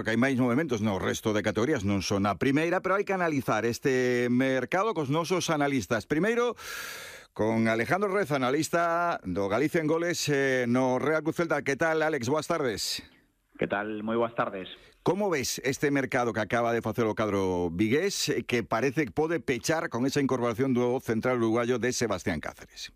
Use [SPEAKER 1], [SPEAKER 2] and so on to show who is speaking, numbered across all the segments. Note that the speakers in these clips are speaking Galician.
[SPEAKER 1] porque hai máis movimentos no resto de categorías, non son a primeira, pero hai que analizar este mercado cos nosos analistas. Primeiro, con Alejandro Reza, analista do Galicia en Goles no Real Cruz Celta. Que tal, Alex? Boas tardes.
[SPEAKER 2] Que tal? Moi boas tardes.
[SPEAKER 1] Como ves este mercado que acaba de facer o cadro vigués, que parece que pode pechar con esa incorporación do central uruguayo de Sebastián Cáceres?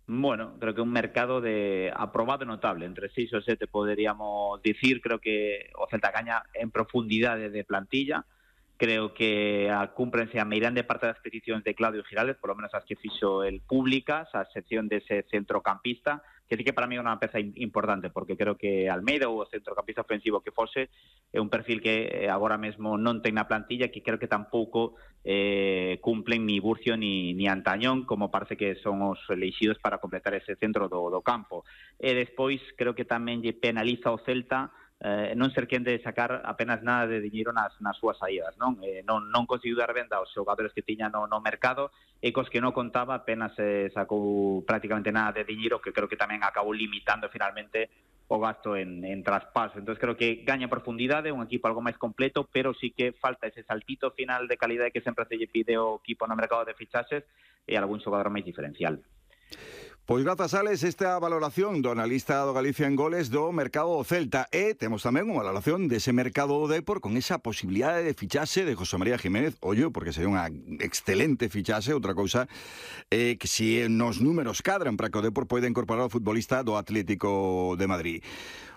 [SPEAKER 2] Bueno, creo que un mercado de aprobado notable, entre 6 ou 7 poderíamos dicir. Creo que o Celta gaña en profundidade de plantilla. Creo que cúmprense a meirande parte das peticións de Claudio Giraldez, por lo menos as que fixo el públicas, a excepción dese centrocampista, que sí que para mí é unha peza importante, porque creo que Almeida, ou o centrocampista ofensivo que fose, é un perfil que agora mesmo non ten na plantilla, que creo que tampouco cumplen ni Burcio ni Antañón, como parece que son os elixidos para completar ese centro do campo. E despois creo que tamén lle penaliza ao Celta non ser quen de sacar apenas nada de diñeiro nas súas saídas, non? Non conseguiu dar venda aos xogadores que tiña no mercado, e cos que non contaba apenas sacou prácticamente nada de diñeiro, que creo que tamén acabou limitando finalmente o gasto en traspaso. Entón creo que gaña profundidade, un equipo algo máis completo, pero sí que falta ese saltito final de calidade que sempre se lle pide o equipo no mercado de fichaxes, e algún xogador máis diferencial.
[SPEAKER 1] Pois grazas, Alex, esta valoración do analista do Galicia en Goles do mercado do Celta. E temos tamén unha valoración dese mercado do Depor con esa posibilidade de fichaxe de José María Jiménez. Ollo, porque sería unha excelente fichaxe. Outra cousa que si nos números cadran para que o Depor poida incorporar o futbolista do Atlético de Madrid.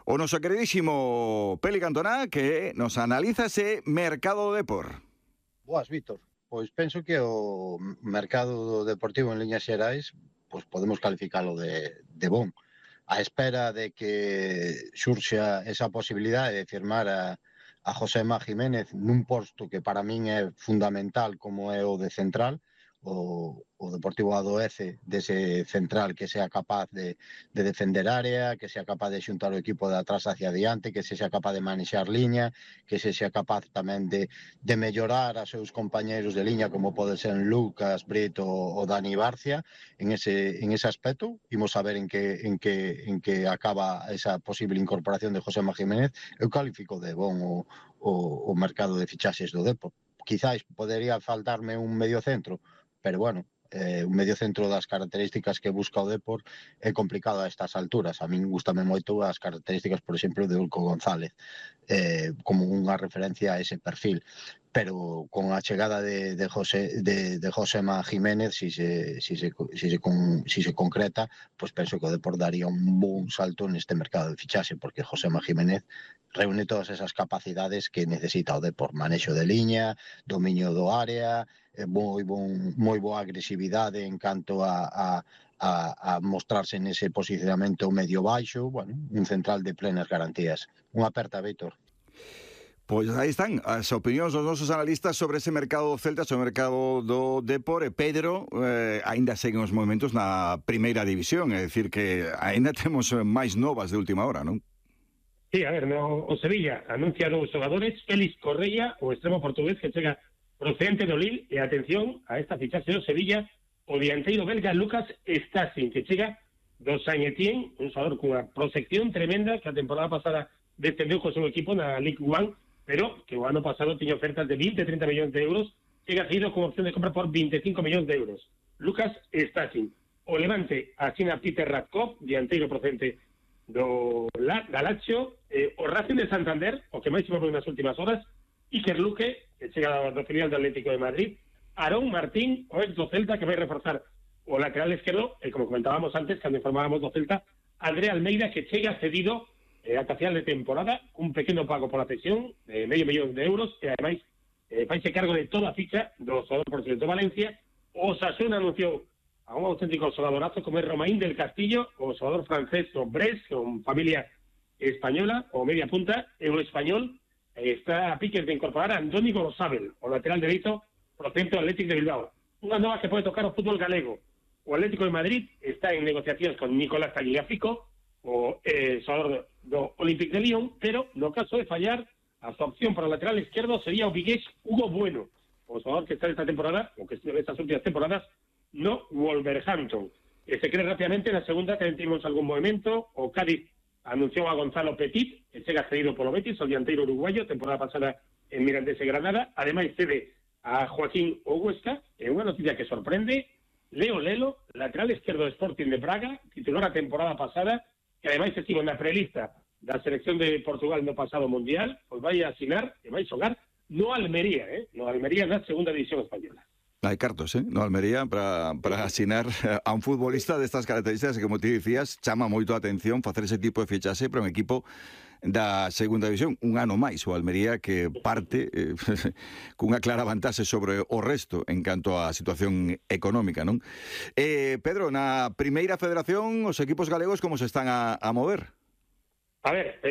[SPEAKER 1] O noso queridísimo Peli Cantona, que nos analiza ese mercado do Depor.
[SPEAKER 3] Boas, Víctor. Pois penso que o mercado deportivo en liñas xerais pues podemos calificalo de bon. A espera de que xurxa esa posibilidade de firmar a Josema Jiménez nun posto que para min é fundamental, como é o de central, o Deportivo adoece dese central que sea capaz de defender área, que sea capaz de xuntar o equipo de atrás hacia adiante, que sea capaz de manexar liña, que sea capaz tamén de mellorar a seus compañeiros de liña, como pode ser Lucas Brito ou Dani Barcia. En ese aspecto imos a ver en que acaba esa posible incorporación de Josema Jiménez. Eu califico de bon o mercado de fichaxes do Depor. Quizás podería faltarme un medio centro, pero bueno, un medio centro das características que busca o Depor é complicado a estas alturas. A min gustame moito as características, por exemplo, de Ulco González, como unha referencia a ese perfil. Pero con a chegada de Josema Jiménez, si se concreta, pues penso que o Depor daría un bon salto neste mercado de fichaxe, porque Josema Jiménez reúne todas esas capacidades que necesita o Depor: manexo de liña, dominio do área, moi boa agresividade en canto a mostrarse nese posicionamento medio baixo. Bueno, un central de plenas garantías. Unha aperta, Víctor.
[SPEAKER 1] Pois aí están as opinións dos nosos analistas sobre ese mercado do Celta, sobre o mercado do Depor. E Pedro, aínda seguen os movimentos na primeira división, é dicir que aínda temos máis novas de última hora, non?
[SPEAKER 4] Sí, a ver, o Sevilla anuncia novos xogadores. Félix Correia, o extremo portugués que chega procedente do Lille, e atención a esta fichaxe do Sevilla, o dianteiro belga Lucas Stasin, que chega do Saint-Étienne, un xogador cunha proxección tremenda, que a temporada pasada descendeu co seu equipo na Ligue 1, pero que o ano pasado tiña ofertas de 20-30 millóns de euros, chega seguido con opción de compra por 25 millóns de euros. Lucas Stasin. O Levante asina Peter Radkov, dianteiro procedente do Lazio. O Racing de Santander, o que máis se foi nas últimas horas, Iker Luque, que chega do filial do Atlético de Madrid. Aarón Martín, o ex do Celta, que vai reforzar o lateral esquerdo, e como comentábamos antes, cando informábamos do Celta, André Almeida, que chega cedido ata final de temporada, un pequeno pago por la cesión de medio millón de euros, e ademais faise cargo de toda a ficha do xogador procedente do Valencia. O Osasuna anunciou a un auténtico xogadorazo como é Romain del Castillo, o xogador francés do Brest, con familia española, o media punta, e o español está a piques de incorporar a Andoni Gorosabel, o lateral dereito procedente do Atlético de Bilbao. Unha nova que pode tocar o fútbol galego. O Atlético de Madrid está en negociacións con Nicolás Tagliafico, o xogador do Olympique de Lyon, pero no caso de fallar, a súa opción para o lateral esquerdo sería o vigués Hugo Bueno, o xogador que está esta temporada, ou que está estas últimas temporadas, no Wolverhampton. Se cree rápidamente na segunda que tivemos algún movimento, o Cádiz anunciou a Gonzalo Petit, que chega cedido polo Betis, o dianteiro uruguayo, temporada pasada en Mirandés e Granada. Ademais cede a Joaquín Huesca, e unha noticia que sorprende, Leo Lelo, lateral esquerdo do Sporting de Braga, titular a temporada pasada, que ademais estivo na prelista da selección de Portugal no pasado Mundial, pois vai a asinar e vai xogar no Almería, no Almería na segunda división española.
[SPEAKER 1] Hai cartos, no Almería para asinar a un futbolista destas características que, como ti dicías, chama moito a atención facer ese tipo de fichaxe para un equipo da segunda división. Un ano máis o Almería que parte cunha clara vantaxe sobre o resto en canto á situación económica, non? Pedro, na primeira federación os equipos galegos como se están a mover?
[SPEAKER 4] A ver,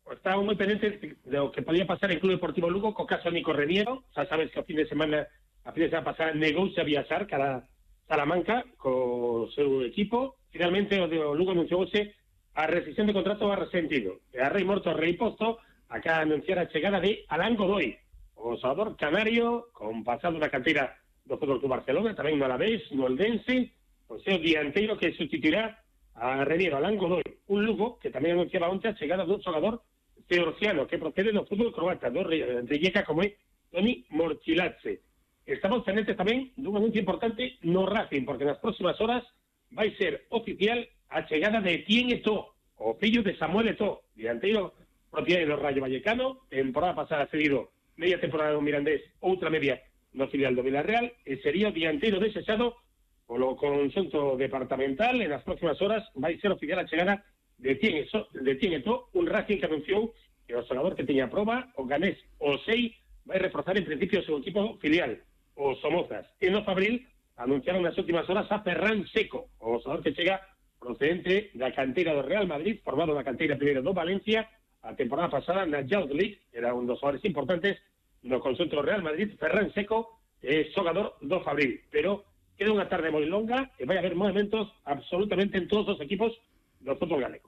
[SPEAKER 4] estaba moi pendente do que podía pasar en Club Deportivo Lugo co caso Nico Reniero. Xa sabes que a fin de semana pasada negouse a viaxar cara Salamanca co seu equipo. Finalmente o Lugo anunciouse a rescisión de contrato a resentido. E a rei morto, a rei posto, acá anunciar a chegada de Alán Godoy, o xogador canario con pasado na canteira do Fútbol Club Barcelona, tamén no Alavés, no Eldense, o seu dianteiro que sustituirá a Reniero, Alán Godoy. Un Lugo que tamén anunciaba onte a chegada dun xogador georgiano que procede do fútbol croata, do Rijeka, como é Toni Morchilatze. Estamos pendentes tamén dun anuncio importante no Racing, porque nas próximas horas vai ser oficial a chegada de Etienne Eto'o, o fillo de Samuel Eto'o, dianteiro propiedade do Rayo Vallecano, temporada pasada cedido media temporada do Mirandés, outra media no filial do Villarreal, e sería o dianteiro desexado polo conxunto departamental. En as próximas horas vai ser oficial a chegada de Etienne Eto'o, un Racing que anunciou que o xogador que teña proba, o ganés Osei, vai reforzar en principio o seu equipo filial, o Somozas. E no Fabril anunciaron nas últimas horas a Ferran Seco, o xogador que chega procedente da canteira do Real Madrid, formado na canteira primeiro do Valencia, a temporada pasada na Youth League, era un dos xogadores importantes no conxunto do Real Madrid. Ferran Seco é xogador do Fabril, pero queda unha tarde moi longa e vai haber movimentos absolutamente en todos os equipos do fútbol galego.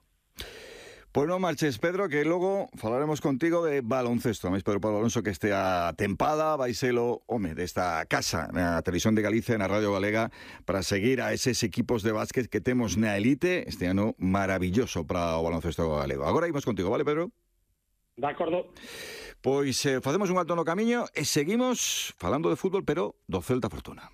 [SPEAKER 1] Pois non marches, Pedro, que logo falaremos contigo de baloncesto. Máis Pedro Pablo Alonso, que estea tempada, vai selo, desta casa na Televisión de Galicia, na Radio Galega, para seguir a eses equipos de básquet que temos na elite este ano maravilloso para o baloncesto galego. Agora imos contigo, vale, Pedro?
[SPEAKER 4] De acordo.
[SPEAKER 1] Pois facemos un alto no camiño e seguimos falando de fútbol, pero do Celta Fortuna.